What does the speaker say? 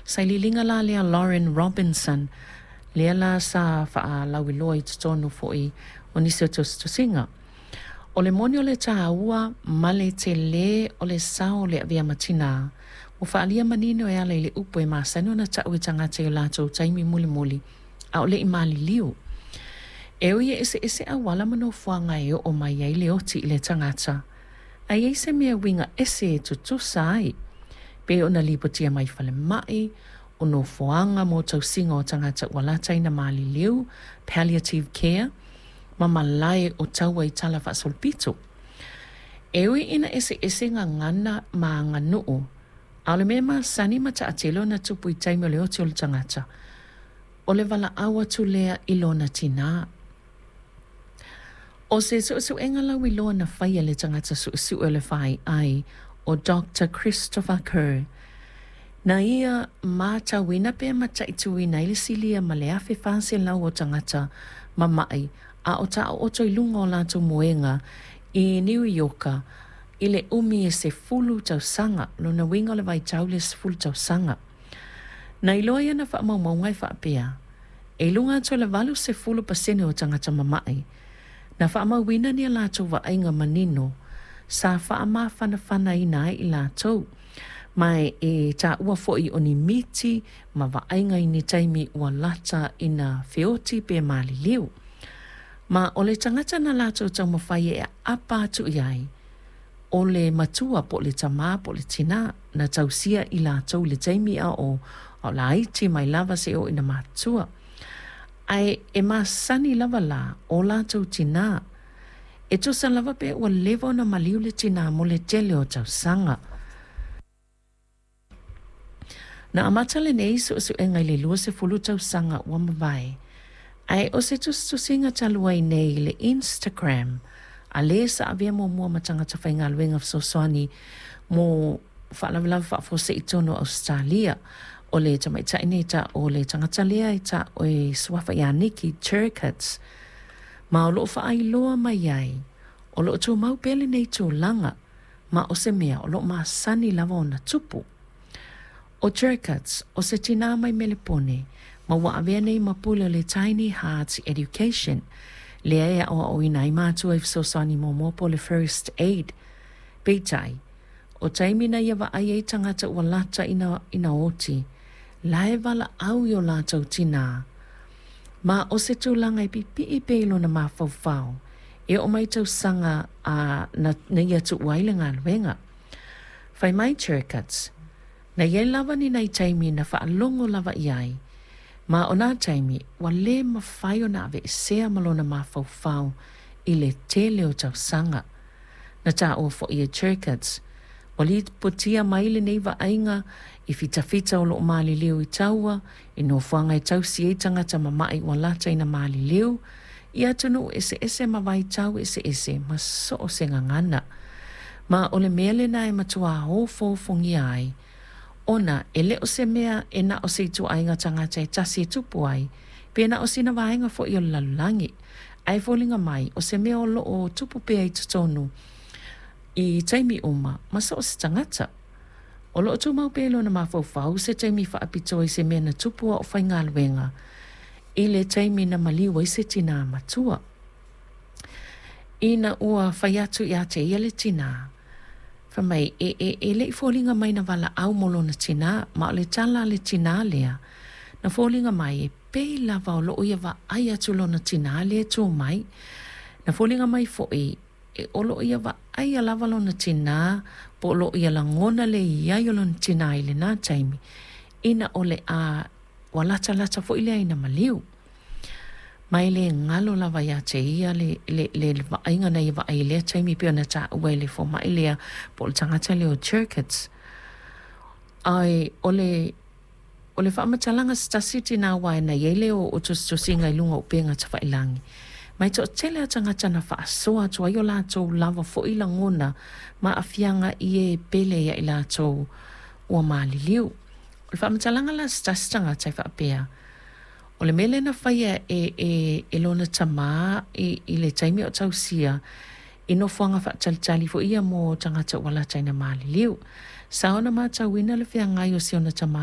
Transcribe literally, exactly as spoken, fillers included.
Sailiiliga la lea Lauren Robinson, lea la sa faalauiloa i totonu foi o nisi o tusitusiga. O le moni o le tāua ma le telē o le sao o le avea ma tinā, ua faaalia manino e ala i le upu e masani ona taʻu e tagata i o latou taimi mulimuli a o le i maliliu. E ui e eseese auala ma nofoaga e oo mai ai le oti i le tagata, ae i ai se mea uiga ese e tutusa ai, pei ona lipotia mai falemai, o nofoaga mo tausiga o tagata ua lata ina maliliu, palliative care, ma malae o taua i tala faasolopito. E ui ina eseese gagana ma aganuu, a o le mea masani ma taatele ona tupu i taimi o le oti o le tagata, o le valaau atu lea i lona tinā. ʻO se suʻesuʻega lauiloa na faia e le tagata suʻesuʻe o le F I ʻo Doctor Christopher Kerr, na ia matauina pe mataituina ai le silia ma le afe fa selau o tagata mamaʻi a o taoto i luga o latou moega i Niu Ioka i le umi e sefulu tausaga, lona uiga o le vaitau lea sefulu tausaga. Na iloa i ana faamaumauga e faapea, e i luga atu o le valu sefulu pasene o tagata mamaʻi, na faamauina ni a latou vaaiga manino sa faamafanafanaina ai i latou, ma e taua foi o ni miti ma vaaiga i ni taimi ua lata ina feoti pe maliliu. Ma o le tagata na latou taumafai e aapa atu i ai, o le matua po o le tamā po o le tinā na tausia i latou i le taimi a o a o laiti mai lava seia oo ina matutua. Ae e masani lava la o latou tinā. E tusa lava pe ua leva ona maliu le tinā mo le tele o tausaga. Na amata lenei suʻesuʻega i le lua sefulu tausaga ua mavae, ae o se tusitusiga talu ai nei i le Instagram a le sa avea muamua ma tagata faigaluega fesoasoani mo faalavelave faafuasei tonu o Ausetalia. O le tamaitai nei ta o le tagata lea e taʻu e suafa ia Nikki Turcotte, ma o loo faailoa mai ai o loo tumau pea lenei tulaga ma o se mea o loo masani lava ona tupu. ʻO Turcotte, o se tinā mai Melepone, ma ua avea nei ma pule o le Tiny Hearts Education, lea e aʻoaʻoina ai mātua i fesoasoani muamua po o le First Aid. Peitai, o taimi na ia vaai ai tagata ua lata ina, ina oti, la e valaau i o latou tinā. Ma o se tulaga e pipiʻi pea i lona mafaufau, e oo mai tausaga a na, na ia tuua ai le galuega. Fai mai Turcotte, na iai lava ni nai taimi na faalogo lava i ai, ma o nā taimi ua lē mafai ona aveesea ma lona mafaufau i le tele o tausaga. Na taua foi e Turcotte, ua lipotia mai lenei vaaiga i fitafita o loo maliliu i taua, i nofoaga e tausi ai tagata mamaʻi ua lata ina maliliu, i atunuu eseese ma vaitau eseese ma so o se gagana. Ma o le mea lena e matuā ofoofogia ai, ona e le o se mea e na o se ituaiga tagata e tasi e tupu ai, pe na o sina vaega foi o le lalolagi. Ae foliga mai o se mea o loo tupu pea i totonu i taimi uma ma so o se tagata. O loo tumau pea i lona mafaufau se taimi faapitoa i se mea na tupu a o faigaluega i le taimi na maliu ai se tinā matua. Ina ua fai atu ia te ia le tinā, fai mai e, e, e le i foliga mai na valaau mo lona tinā, ma o le tala a le tinā lea, na foliga mai e pei lava o loo ia vaai atu lona tinā lea e tū mai. Na foliga mai foi e o loo ia vaaia lava lona tinā, po o loo ia lagona le i ai o lona tinā i lenā taimi, ina o le a ua latalata foi lea ina maliu. Ma e le galo lava ia te ia le, le, le, le vaaiga na ia vaai i lea taimi pei ona taua e le fomai lea po o le tagata lea o Turcotte. Ae o le o le faamatalaga se tasi tinā uae na iai le o, o tusitusiga i luga o upega tafailagi. Ma e toatele a tagata na faasoa atu ai o latou lava foi lagona ma aafiaga i e pele ia i latou ua maliliu. O le faamatalaga la se tasi tagata e faapea, o le mea lea na faia e, e, e lona tamā i, i le taimi o tausia i nofoaga faatalitali foi ia mo tagata ua lata ina maliliu. Sa ona matauina le feagai o si ona tamā